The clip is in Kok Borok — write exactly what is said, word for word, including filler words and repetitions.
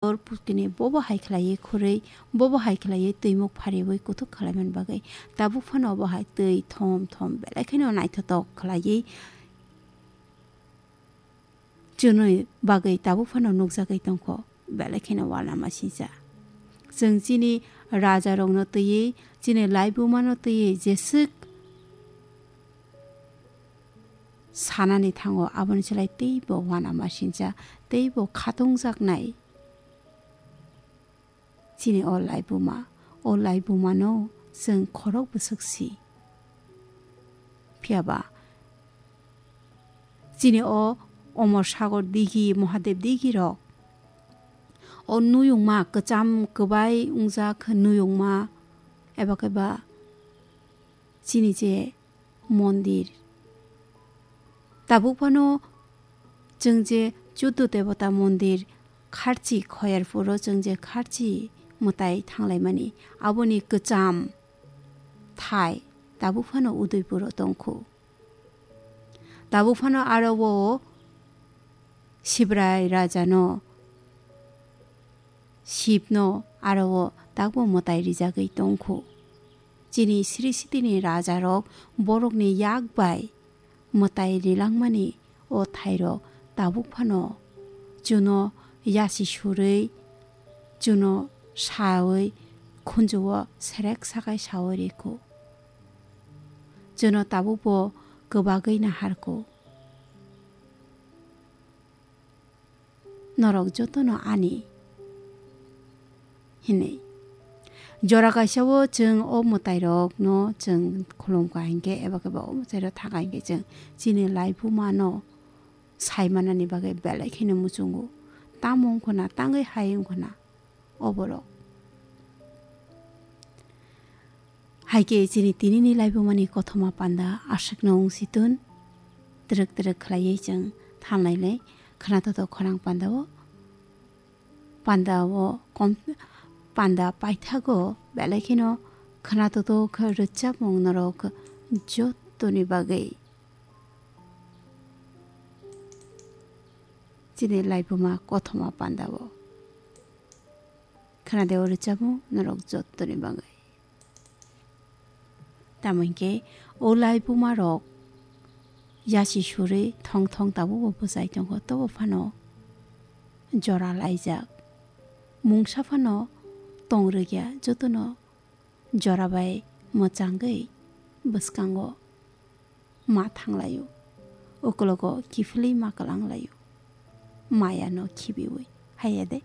Tor putini bobo hai khlaiwi khurwi, bobo hai khlaiwi twimuk phariwi kuthuk khlaiman bagwi tabuk phano obo hai twi thom thom belai kheno naithotok khlaiwi chwngni bagwi tabuk phano nukjagwi tongkho, belai kheno uanamasingcha. Chwng chini rajarokno twiwi, chini laibumano twiwi jeswk sanani thango, aboni slai teibo uanamasingcha, teibo khatungjaknai. Chini o laibuma, o laibumano chwng khorok bwswk si. Phiya ba chini o Omor Sagor digi, Mahadev digi rok, o nuyungma kwcham kwbai wngjak nuyungma, eba khe ba chini je mondir. Tabuk phano chwng je Chuddu Debota mondir Kharchi Khoyarpuro chwng je Kharchi mwtai thanglaimani, aboni kwcham thai tabuk phano Udaipuro tongkhu. Tabuk phano aro o Sibrai rajano, Shibno aro o takbo mwtai rijagwi tongkhu. Chini Sri Sitini rajarok borokni yak bai mwtai rilangmani o thairok tabuk phano chuno yasi surwi, chuno sawi khunjuo serek sakai sawi rikhu. Chuno tabukbo kwbagwi naharkhu. Norok jotono ani hinwi. Jora kaisa o chwng o mwtairokno chwng khulumkha hinkhe eba khe ba o mwtairok thaka hinkhe chwng chini laibumano saimanani bagwi belai kheno muchungo. Tamo wngkhwna, tangwi hai wngkhwna oborok. Hai khe chini tinini laibumani kothoma panda aswkno wng si tun. Twrwk twrwk khlaiwi chwng thanlailai khwnathotho khorang pandao. Pandao kom, panda paithago belai kheno khwnathotho khe rwchapmung norok jottoni bagwi. Chini laibuma kothoma pandao. Khwnade o rwchapmung norok jottoni bagwi. Tamo hinkhe o laibumarok yasi surwi thong thong tabukbo bwchai tongo, tobo phano jora laijak. Mungsa phano tong rwgya, jotono jora bai mwchangwi bwskango ma thanglaio, ukologo kiphilwi ma kwlanglaio, mayano khibiwi. Haiya de,